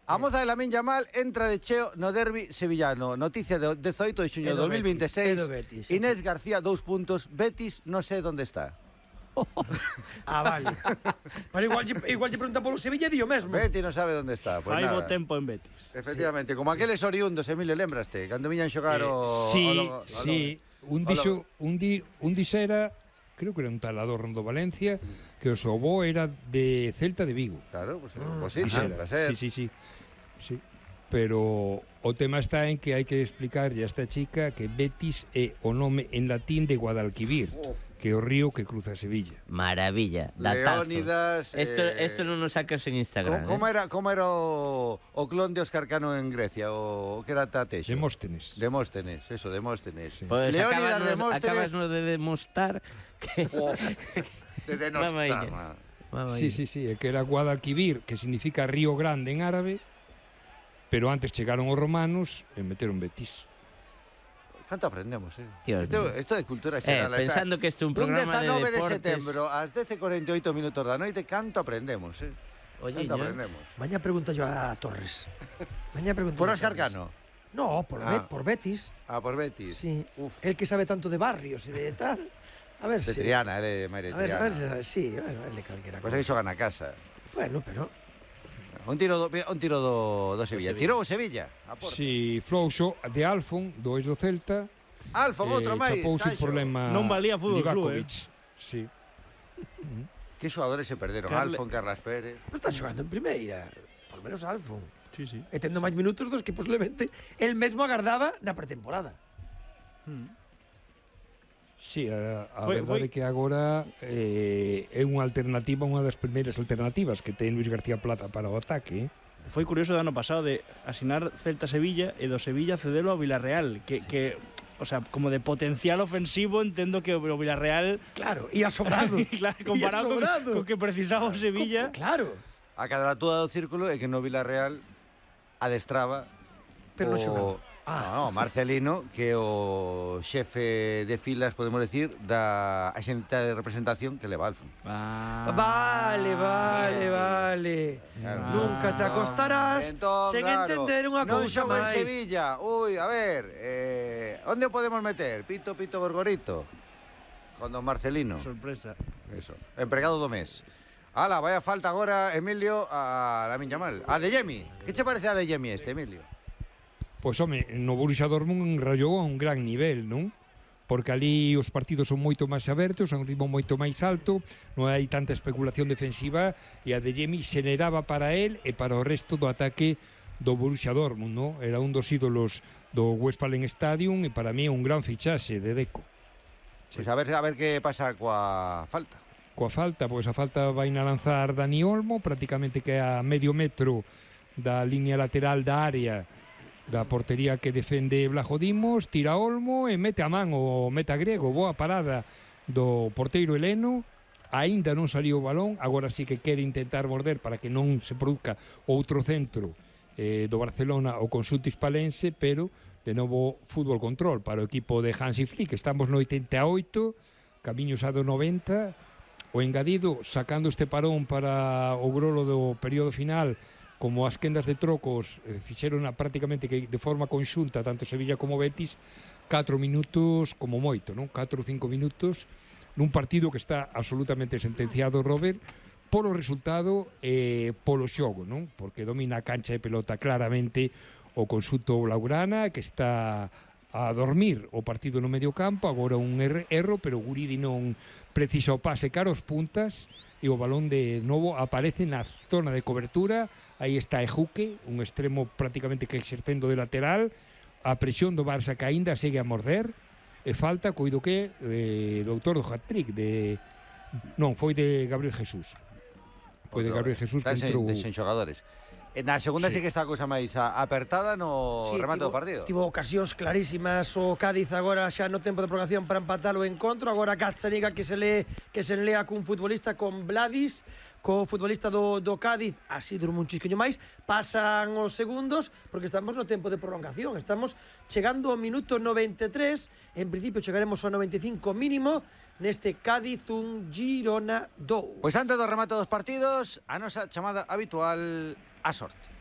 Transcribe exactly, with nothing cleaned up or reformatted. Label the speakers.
Speaker 1: A moza de Lamine Yamal entra de cheo no derbi sevillano. Noticia de dezoito de xuño de dos mil veintiséis. Inés García, dous puntos. Betis, non sei onde está.
Speaker 2: Ah, vale. Pero igual, igual te pregunta polo Sevilla e o mesmo.
Speaker 1: Betis non sabe onde está. Pues
Speaker 3: Fai bo
Speaker 1: nada.
Speaker 3: tempo en Betis.
Speaker 1: Efectivamente, sí. Como aqueles oriundos, Emilio, lembraste? Cando viñan xogar
Speaker 4: eh,
Speaker 1: o...
Speaker 4: Sí,
Speaker 1: o lo,
Speaker 4: sí. O lo, un dixo, un, di, un dixera, creo que era un tal Adorno do Valencia, que o seu avó era de Celta de Vigo.
Speaker 1: Claro, pues,
Speaker 2: ah,
Speaker 1: pues sí,
Speaker 4: dixera.
Speaker 1: para ser.
Speaker 4: Sí, sí, sí. Sí. Pero o tema está en que hai que explicarlle a esta chica que Betis é o nome en latín de Guadalquivir, oh. que é o río que cruza Sevilla.
Speaker 5: Maravilla, datazo.
Speaker 1: Leónidas...
Speaker 5: Esto,
Speaker 1: eh,
Speaker 5: esto non nos sacas en Instagram.
Speaker 1: ¿Cómo,
Speaker 5: eh?
Speaker 1: era, cómo era o, o clon de Óscar Cano en Grecia? O que era Tatexo?
Speaker 4: Demóstenes.
Speaker 1: Demóstenes, eso, Demóstenes. Sí.
Speaker 5: Pues
Speaker 1: Leónidas
Speaker 5: acabas,
Speaker 1: Demóstenes...
Speaker 5: acabas de demostrar que...
Speaker 1: Oh, de denostar.
Speaker 4: Sí, sí, sí, é que era Guadalquivir, que significa río grande en árabe, pero antes chegaron os romanos e meteron Betis.
Speaker 1: Canto aprendemos, eh?
Speaker 5: Dios
Speaker 1: esto,
Speaker 5: mío.
Speaker 1: esto de cultura
Speaker 5: eh,
Speaker 1: xeral.
Speaker 5: Pensando que isto é un programa de deportes...
Speaker 1: Un dezanove de setembro, ás dez e cuarenta e oito minutos da noite, canto aprendemos, eh?
Speaker 5: Oye,
Speaker 1: canto aprendemos.
Speaker 2: Maña pregunta yo a Torres. Maña pregunta
Speaker 1: Por Óscar Cano?
Speaker 2: No, por, ah. Bet, por Betis.
Speaker 1: Ah, por Betis.
Speaker 2: Sí. Uf. El que sabe tanto de barrios e de tal... A ver
Speaker 1: de
Speaker 2: si...
Speaker 1: Triana, él é Maire Triana.
Speaker 2: A ver, a ver, sí, bueno, él de calquera
Speaker 1: cosa. Pues aí xogan a casa.
Speaker 2: Bueno, pero...
Speaker 1: Un tiro do, un tiro do, do Sevilla. Tirou o Sevilla.
Speaker 4: Si, sí, Flouxo de Alfon, do ex do Celta.
Speaker 1: Alfon,
Speaker 4: eh,
Speaker 1: outro máis.
Speaker 4: Chapouse por problema
Speaker 3: non valía fútbol club, eh.
Speaker 4: Sí.
Speaker 1: Que xogadores se perderon? Carle... Alfon, Carlas Pérez.
Speaker 2: Non está xogando en primeira. Por menos Alfon.
Speaker 3: Sí, sí.
Speaker 2: E tendo máis minutos dos que posiblemente el mesmo agardaba na pretemporada.
Speaker 3: Hmm.
Speaker 4: Sí, a, a
Speaker 3: foi,
Speaker 4: verdade é que agora eh, é unha alternativa, unha das primeiras alternativas que ten Luis García Plaza para o ataque.
Speaker 3: Foi curioso do ano pasado de asinar Celta-Sevilla e do Sevilla cedelo ao Villarreal, que, que, o sea, como de potencial ofensivo, entendo que o Villarreal...
Speaker 2: Claro, e a sobrado.
Speaker 3: Claro, comparado con, con que precisaba o Sevilla...
Speaker 2: Claro.
Speaker 1: A cadratura do círculo é que no Villarreal adestraba
Speaker 2: pero non
Speaker 1: o...
Speaker 2: xogaba.
Speaker 1: Ah. No, no, Marcelino, que é o xefe de filas, podemos decir, da axente de representación que leva Alfon.
Speaker 2: Ah. Vale, vale, vale. Claro. Ah. Nunca te acostarás entón, sen claro, entender unha cousa máis.
Speaker 1: Non xoga en Sevilla. Ui, a ver, eh, onde o podemos meter? Pito, pito, gorgorito. Con don Marcelino.
Speaker 3: Sorpresa.
Speaker 1: Eso, empregado do mes. Ala, vaya falta agora, Emilio, a Lamine Yamal. A Adeyemi. Que che parece a Adeyemi este, Emilio?
Speaker 4: Pois, home, no Borussia Dortmund enrallou a un gran nivel, non? Porque ali os partidos son moito máis abertos, a un ritmo moito máis alto, non hai tanta especulación defensiva, e a Adeyemi xeneraba para él e para o resto do ataque do Borussia Dortmund, non? Era un dos ídolos do Westfalen Stadium e para mí un gran fichaxe de Deco.
Speaker 1: Sí. Pois a ver, a ver que pasa coa falta.
Speaker 4: Coa falta, pois a falta vai na lanzar Dani Olmo, prácticamente que a medio metro da línea lateral da área da portería que defende Blajo Dimos, tira Olmo e mete a man o meta grego. Boa parada do porteiro heleno, aínda non saliu o balón, agora sí que quere intentar morder para que non se produzca outro centro eh, do Barcelona o conxunto hispalense, pero de novo fútbol control para o equipo de Hansi Flick. Estamos no oitenta e oito, camiños a do noventa, o engadido sacando este parón para o grolo do período final, como as quendas de trocos eh, fixeron a, prácticamente que de forma conxunta tanto Sevilla como Betis, catro minutos como moito, non? catro ou cinco minutos nun partido que está absolutamente sentenciado, Robert, polo resultado e eh, polo xogo, non? Porque domina a cancha de pelota claramente o conxunto blaugrana, que está a dormir o partido no medio campo, agora un erro, pero Guridi non precisa o pase cara aos puntas e o balón de novo aparece na zona de cobertura. Aí está Ejuque, un extremo prácticamente que exercendo de lateral, a presión do Barça que aínda segue a morder, e falta, coido que eh, do autor do hat-trick de... non, foi de Gabriel Jesús. Foi de Gabriel Jesús que entrou...
Speaker 1: Sen xogadores. Na segunda sí, sí que está a cousa máis apertada no sí, remate
Speaker 2: tivo,
Speaker 1: do partido.
Speaker 2: Tivo ocasións clarísimas o Cádiz agora xa no tempo de prolongación para empatar o encontro. Agora Gazzaniga que se lee que se lea cun futbolista con Vladis, co futbolista do, do Cádiz, así durmo un chisquiño máis. Pasan os segundos porque estamos no tempo de prolongación. Estamos chegando ao minuto noventa e tres. En principio chegaremos ao noventa e cinco mínimo neste Cádiz un Girona dous.
Speaker 1: Pois antes do remate dos partidos, a nosa chamada habitual a sorte.